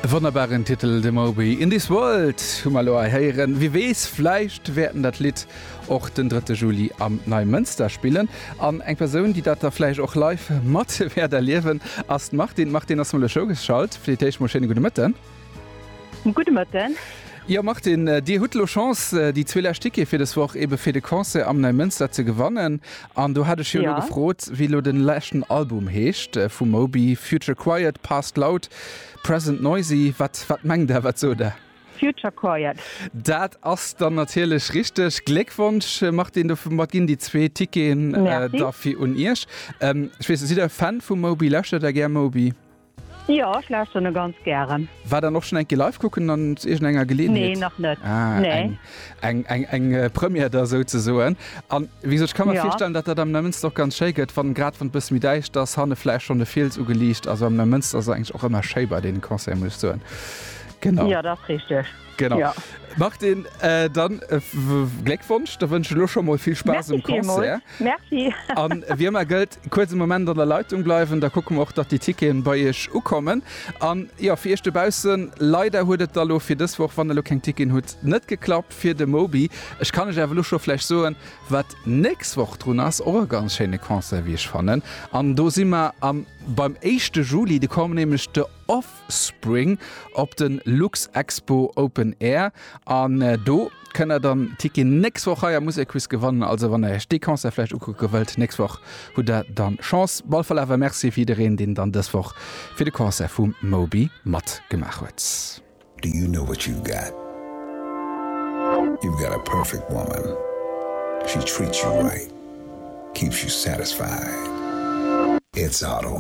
E wonnerbaren Titel, de Moby. In This World hu mer elo hei héieren. Wie weess, vläicht wäert en dat Lidd och den drëtte Juli am Neimënster spillen. An eng Persoun, déi dat da vläicht och live mat wäert erliewen, ass d'Martine. D'Martine ass mol elo zougeschalt. Fir d'éischt mol schéine gudde Mëtten. Gudde Mëtten. Jo Martine, Dir hutt elo Chance déi zwee lescht Tickete fir des Woch ebe fir de Concert am Neimënster ze gewannen. An do hat ech jo elo gefrot, wéi elo den leschten Album heescht vum Moby, Future Quiet, Past Loud, Present Noisy. Wat wat mengt Der, wat sot Der? Future Quiet. Dat ass dann natierlech richteg. Gléckwonsch Martine, domat ginn déi zwee Ticketen da fir un Iech. Ech weess net, sidd Der Fan vum Moby? Lauschtert Der gär Moby? Jo, ech lauschteren e ganz gären. War dann och schon eng Kéier live kucken an iergendenger Geleeënheet? Nee, nach net. Ah, Nee. eng, eng, eng, eng Première da souzesoen. An wéi gesot, ech ka mer Ja. virstellen, datt dat am Neumënster och ganz schéi gëtt, wann, grad wann et bësse méi däischter ass, hanne vläicht schonn de Fiels ugeliicht. Also am Neumënster ass eigentlech och ëmmer schéi bei deene Concerten, muss ech soen. Genau. Jo, dat ass richteg. Genau. Ja. Martine, äh, dann äh, Gléckwonsch, da wënsch ech elo scho mol vill Spaass um Concert. Merci. An wéi ëmmer gëllt, kuerz e Moment an der Leitung bleiwen, da kucke mer och, datt déi Ticketen bei iech ukommen. An jo, fir iech dobaussen, leider huet et da lo fir dës Woch, wann der lo keng Ticketen hutt, net geklappt fir de Moby. Ech kann iech awer elo scho vläicht soen, wat nächst Woch drun ass, och e ganz schéine Concert, wéi ech fannen. An do si mer am beim éischte Juli, do kommen nämlech de Off. Spring op den Luxexpo Open Air an do kënnt der dann Ticketen nächst Woch hei am Musekquiz gewannen. Also wann der iech dee Concert vläicht ukucke wëllt nächst Woch hutt der dann Chance. Op alle Fall awer Merci fir jiddereen deen dann dës Woch fir de Concert vum Moby matgemaach huet. Do you know what you've got? You've got a perfect woman. She treats you right, keeps you satisfied. It's auto.